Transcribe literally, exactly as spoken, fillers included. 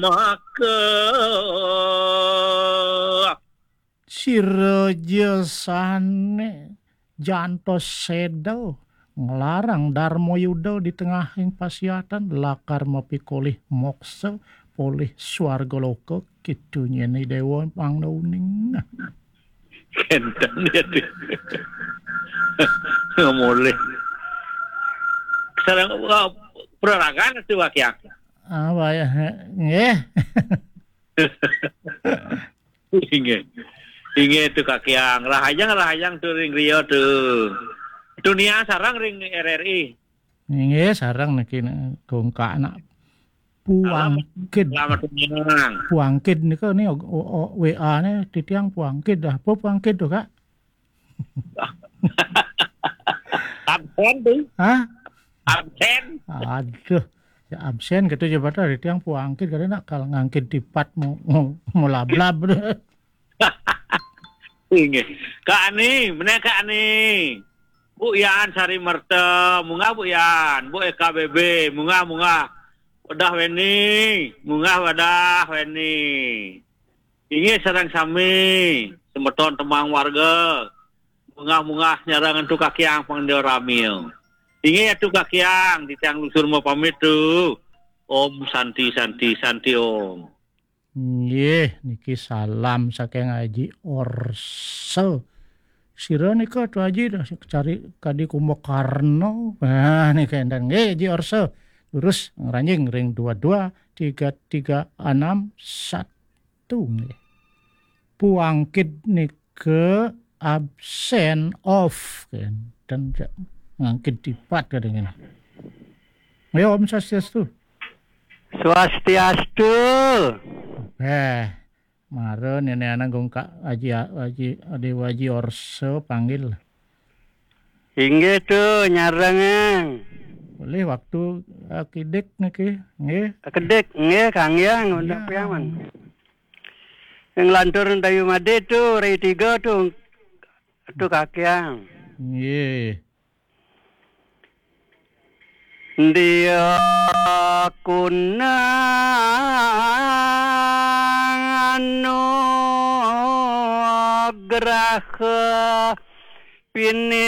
Maka sira ja sane jantos seda nglarang Darma Yuda di tengahing pasiatan, lakar mapikolih moksa, polih swarga loka, kitu nyeni dewa pangda uning. Kenten dia tu. Ngomoleh. Sareng, wah, peraragan tu wakiak. Ah, wayah, nggih. Inggih. Inggih tu Kakiang. Rahayang, rahayang tu ring griya tu. Dunia sareng ring R R I. Inggih, sareng niki, ne, gongkak anak. Puangkid. Selamat, selamat, Puangkid nika ni, o-, o-, o-, W A ne titiang Puangkid dah. Apa Puangkid tu, Kak? Absen tu. Hah? Absen. Aduh. Ya absen gitu aja pada titiang Puangkid kada nak kal ngangkit tipat mau, mau, mau lablab. Inggih. Kak Ani, meneh Kak Ani. Bu Yan Sari Merta, munggah Bu Yan, Bu Eka B B, munggah, munggah. Wadah Weni, munggah wadah Weni. Inggih sareng sami, semeton temang warga. Munggah-munggah nyarang antu kakiang pang dia ramil. Inggih atu kakiang, titiang lungsur mapamit tu. Om Santi, Santi, Santi Om. Nggih, niki salam saking Haji Orso. Sira nika, Tu Haji, dah cari kadi Kumbakarna. Nah, nika enten. Nggih, Haji Orso. Terus ngranjing ring dua dua tiga tiga enam satu, nggih. Puangkid nika absen, off, kan. Dan ja-, ngangkit tipat kadang ini. Ya, Om Swastiastu. Swastiastu. Eh, mara nenek anak gong Kak Haji, Haji, Dewa Haji Orso panggil. Inggih tu, nyarengeng. Boleh waktu, eh, kidik niki, nggih. Kedik, nggih, Kang Yang, ya, untuk piaman. Yang lantur Dayu Made tu, rai tiga tu, tu kakiang. Nggih. Dia kunang anugraha pininta.